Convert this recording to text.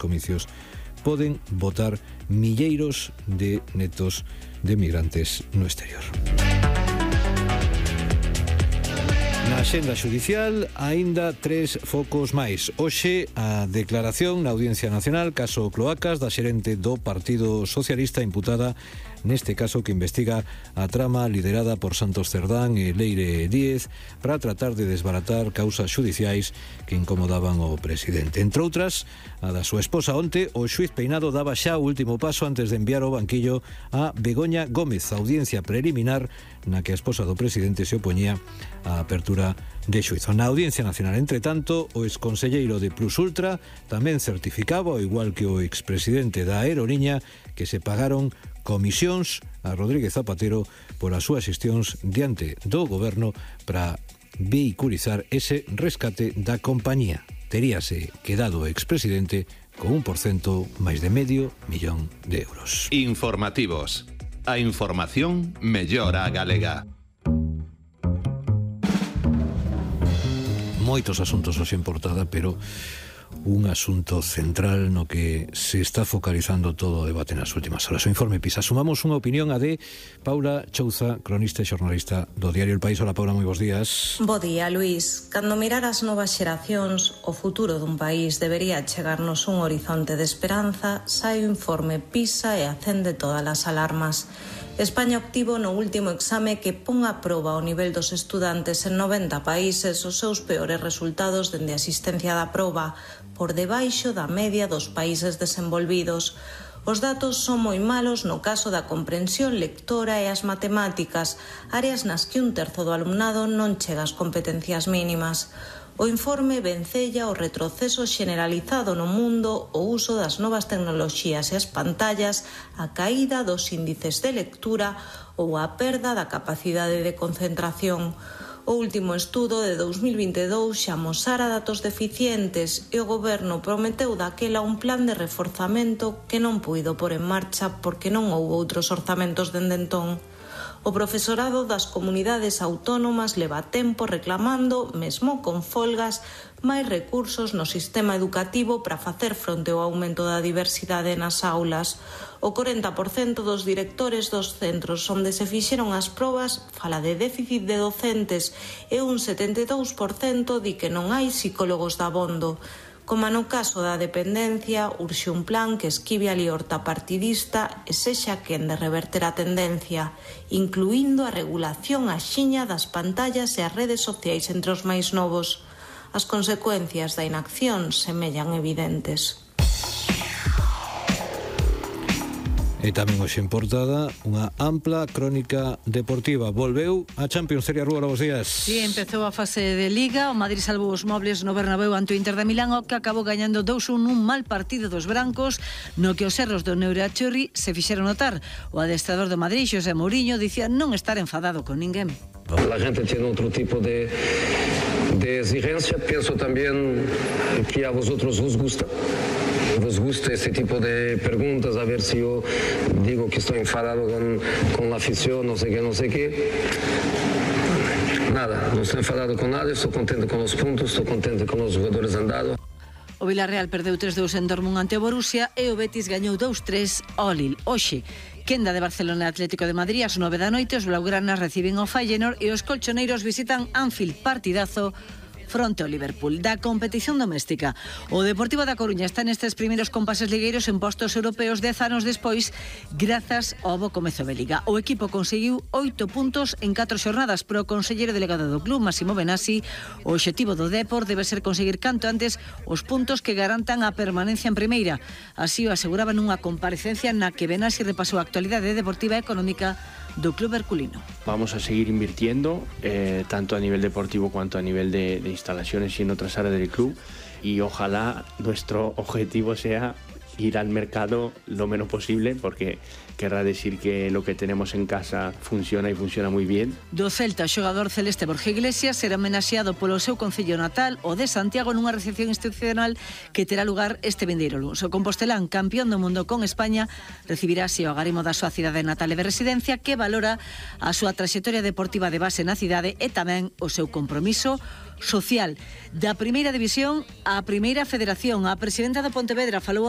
comicios poden votar milleiros de netos de migrantes no exterior. Na axenda xudicial, aínda 3 focos máis. Hoxe, a declaración na Audiencia Nacional, caso Cloacas, da xerente do Partido Socialista imputada neste caso que investiga a trama liderada por Santos Cerdán e Leire Díez para tratar de desbaratar causas xudiciais que incomodaban o presidente. Entre outras, a da súa esposa onte, o xuiz Peinado daba xa o último paso antes de enviar ao banquillo a Begoña Gómez, a audiencia preliminar na que a esposa do presidente se opoñía á apertura de xuizo. Na Audiencia Nacional, entre tanto, o exconselleiro de Plus Ultra tamén certificaba, ao igual que o expresidente da Aeroliña, que se pagaron comisións a Rodríguez Zapatero por as súas xestións diante do goberno para vehiculizar ese rescate da compañía. Teríase quedado o expresidente con 1% máis de €500.000. Informativos. A información mellora a galega. Moitos asuntos hoxe en portada, pero un asunto central no que se está focalizando todo o debate nas últimas horas. O informe PISA. Sumamos unha opinión a de Paula Chouza, cronista e xornalista do diario El País. Hola, Paula, moi bons días. Bo día, Luís. Cando mirar as novas xeracións, o futuro dun país debería chegarnos un horizonte de esperanza, sai o informe PISA e acende todas as alarmas. España obtivo no último exame que pon a proba o nivel dos estudantes en 90 países os seus peores resultados dende a asistencia da proba, por debaixo da media dos países desenvolvidos. Os datos son moi malos no caso da comprensión lectora e as matemáticas, áreas nas que 1/3 do alumnado non chega ás competencias mínimas. O informe vencella o retroceso xeneralizado no mundo, o uso das novas tecnoloxías e as pantallas, a caída dos índices de lectura ou a perda da capacidade de concentración. O último estudo de 2022 xa amosara datos deficientes e o goberno prometeu daquela un plan de reforzamento que non puido pôr en marcha porque non houbo outros orzamentos dende entón. O profesorado das comunidades autónomas leva tempo reclamando, mesmo con folgas, máis recursos no sistema educativo para facer fronte ao aumento da diversidade nas aulas. O 40% dos directores dos centros onde se fixeron as probas fala de déficit de docentes e un 72% di que non hai psicólogos dabondo. Como no caso da dependencia, urxe un plan que esquive a liorta partidista e sexa quen de reverter a tendencia, incluindo a regulación axiña das pantallas e as redes sociais entre os máis novos. As consecuencias da inacción semellan evidentes. E tamén hoxe en portada unha ampla crónica deportiva. Volveu a Champions. Seria Rúa, bons días. Sí, empezou a fase de Liga. O Madrid salvou os mobles no Bernabéu ante o Inter de Milán, o que acabou gañando 2-1 nun mal partido dos brancos, no que os erros do Neurachurri se fixeron notar. O adestrador do Madrid, José Mourinho, dicía non estar enfadado con ninguén. La gente tiene otro tipo de exigencia. Pienso también que a vosotros os gusta este tipo de preguntas, a ver si yo digo que estoy enfadado con la afición, no sé qué. Nada, no estoy enfadado con nada, estoy contento con los puntos, estoy contento con los jugadores andados. O Villarreal perdeu 3-2 en Dortmund ante o Borussia e o Betis gañou 2-3 ao Lille. Hoxe, quenda de Barcelona e Atlético de Madrid, ás 9 da noite, os blaugranas reciben o Feyenoord e os colchoneiros visitan Anfield, partidazo fronte ao Liverpool. Da competición doméstica, o Deportivo da Coruña está nestes primeiros compases ligueiros en postos europeos 10 anos despois, grazas ao bo comezo de Liga. O equipo conseguiu 8 puntos en 4 xornadas, pero o conselleiro delegado do club, Massimo Benassi, o obxectivo do Depor debe ser conseguir canto antes os puntos que garantan a permanencia en primeira. Así o aseguraba nunha comparecencia na que Benassi repasou a actualidade deportiva e económica do club herculino. Vamos a seguir invirtiendo, tanto a nivel deportivo cuanto a nivel de instalaciones y en otras áreas del club, y ojalá nuestro objetivo sea ir al mercado lo menos posible, porque querrá decir que lo que tenemos en casa funciona y funciona muy bien. Do Celta, o xogador celeste Borja Iglesias será homenaxeado polo seu concello natal, o de Santiago, nunha recepción institucional que terá lugar este vindeiro luns. O compostelán, campeón do mundo con España, recibirá así o agarimo da súa cidade natal e de residencia, que valora a súa traxectoria deportiva de base na cidade e tamén o seu compromiso social. Da primeira división á primeira federación, a presidenta do Pontevedra falou